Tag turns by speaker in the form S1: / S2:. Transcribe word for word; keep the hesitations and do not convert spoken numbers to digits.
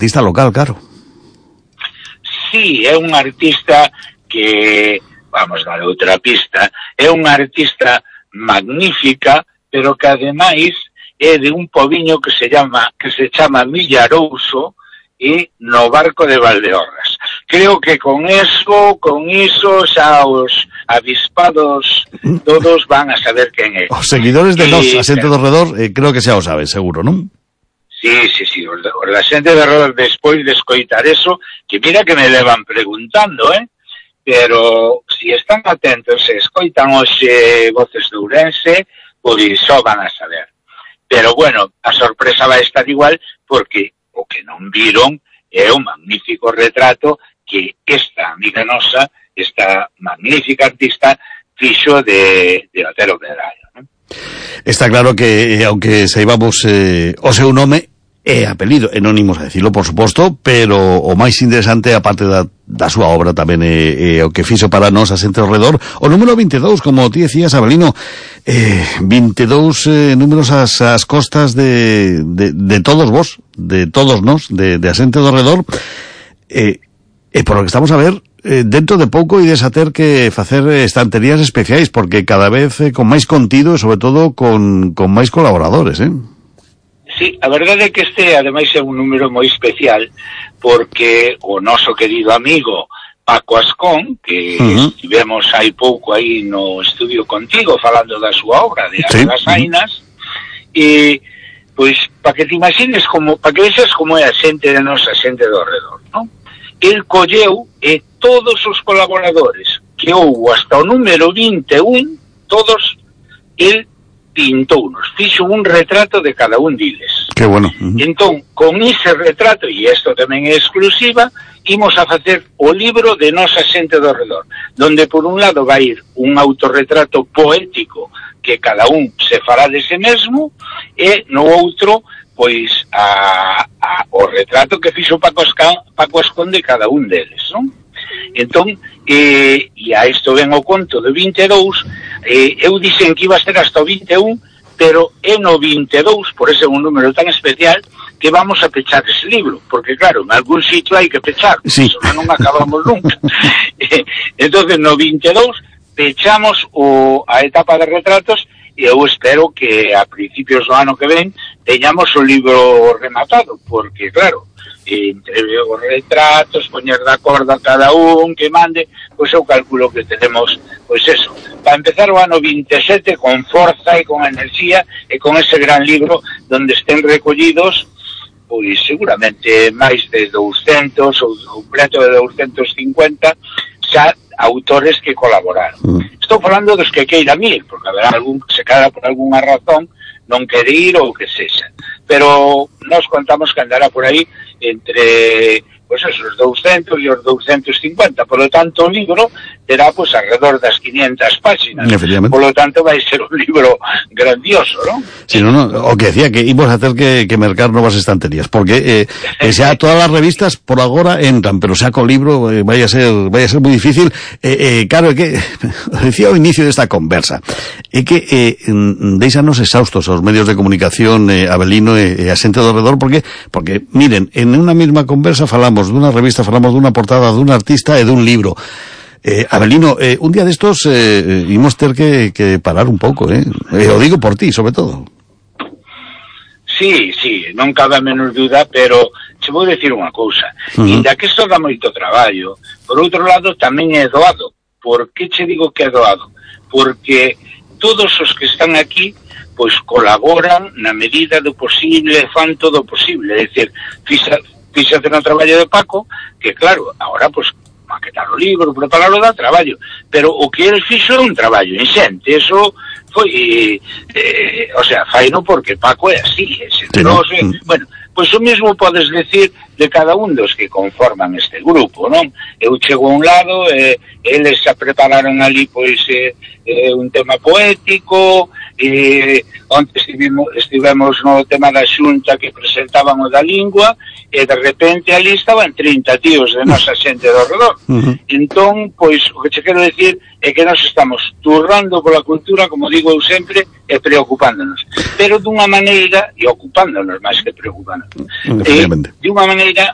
S1: artista local, claro.
S2: Sí, é un artista que, vamos dar outra pista, é unha artista magnífica, pero que ademais é de un pobiño que se llama que se chama Millarouso e no Barco de Valdeorras. Creo que con eso, con iso xa os avispados todos van a saber quen é.
S1: Os seguidores de Nos, a xente do redor, eh, creo que xa o saben, seguro, non?
S2: Sí, sí, sí, os da xente de redor despois de escoitar eso, que mira que me levan preguntando, eh? Pero si están atentos e escoitan hoxe Voces de Ourense, pois só van a saber. Pero bueno, a sorpresa vai estar igual porque o que non viron é un magnífico retrato que esta amiga nosa, esta magnífica artista, fixo de, de Otero Medrallo, non?
S1: Está claro que, aunque saibamos eh, o seu nome e apelido, e non imos a decirlo, por suposto, pero o máis interesante, aparte da, da súa obra tamén é, é o que fixo para nós a xente ao redor, o número vinte e dous, como ti decías, Abelino, eh, vinte e dous eh, números ás, ás costas de, de, de todos vos, de todos nós, de, de a xente ao redor, e, e por lo que estamos a ver, eh, dentro de pouco ides a ter que facer estanterías especiais, porque cada vez eh, con máis contido e sobre todo con, con máis colaboradores, eh?
S2: Sí, a verdade é que este, ademais, é un número moi especial, porque o noso querido amigo Paco Ascón, que uh-huh. estivemos hai pouco aí no estudio contigo, falando da súa obra, de As das Ainas, uh-huh. e, pois, para que te imagines como, para que vexas como é a xente de nosa xente do redor, non? El colleu e todos os colaboradores que houve hasta o número vinte e un, todos, el pintounos, fixo un retrato de cada un diles.
S1: Que bueno. Uh-huh.
S2: Entón, con ese retrato, e isto tamén é exclusiva, imos a facer o libro de nosa xente do redor, donde por un lado vai ir un autorretrato poético que cada un se fará de ese mesmo, e no outro, pois, a, a, o retrato que fixo Paco Ascón, Paco Ascón de cada un deles, non? Entón, eh, e a isto ven o conto de vinte e dous, eh, eu dixen que iba a ser hasta o vinte e un, pero é no vinte e dous, por ese un número tan especial, que vamos a pechar ese libro, porque claro, en algún sitio hai que pechar,
S1: sí.
S2: non acabamos nunca. Entonces, no vinte e dous, pechamos o, a etapa de retratos, e eu espero que a principios do ano que ven teñamos o libro rematado, porque claro, entre os retratos, poñer de acordo a cada un que mande, pois eu calculo que tenemos, pois eso, para empezar o ano vinte e sete con forza e con enerxía e con ese gran libro donde estén recollidos, pois seguramente máis de douscentos ou un preto de douscentos cincuenta xa autores que colaboraron. Mm. Estou falando dos que queiran ir, porque haberá algún que se queda por algunha razón non quere ir ou que sexa. Pero nós contamos que andará por aí entre, pois pues esos douscentos e os douscentos cincuenta. Por lo tanto, o libro terá, pois, pues, alrededor das quinientas páxinas. Por lo tanto, vai ser un libro grandioso, ¿no?
S1: Sí, no, no, o que decía que íbamos a ter que, que mercar novas estanterías, porque eh, xa todas as revistas por agora entran, pero xa co libro eh, vai a ser vai a ser moi difícil. Eh, eh, claro, é que decía ao inicio desta conversa, é que eh, deixanos exhaustos aos medios de comunicación, eh, Abelino e, e a xente do redor, porque, porque miren, en unha mesma conversa falamos dunha revista, falamos dunha portada, dun artista e dun libro. Eh, Abelino, eh, un día destos eh, imos ter que, que parar un pouco, eh? eh? O digo por ti, sobre todo.
S2: Sí, sí, non cabe a menos duda, pero se vou decir unha cousa. Uh-huh. Inda que isto dá moito traballo, por outro lado tamén é doado. Por que che digo que é doado? Porque todos os que están aquí pois colaboran na medida do posible, fan todo o posible. É dicir, fixa, fíxate no traballo de Paco, que claro, agora pois maquetar o libro, prepararlo dá traballo, pero o que ele fixo é un traballo inxente, eso foi, eh, eh, o sea, faino porque Paco é así, é xeneroso, sí, no? Bueno, pois o mesmo podes decir de cada un dos que conforman este grupo, non? Eu chego a un lado, eh, eles se prepararon ali, pois, eh, eh, un tema poético, e onte estivemos, estivemos no tema da xunta que presentaban o da lingua, e de repente ali estaban trinta tíos de nosa xente do redor. Uh-huh. Entón, pois, o que che quero decir é que nós estamos turrando pola cultura, como digo eu sempre, e preocupándonos. Pero dunha maneira, e ocupándonos máis que preocupándonos, eh, de unha maneira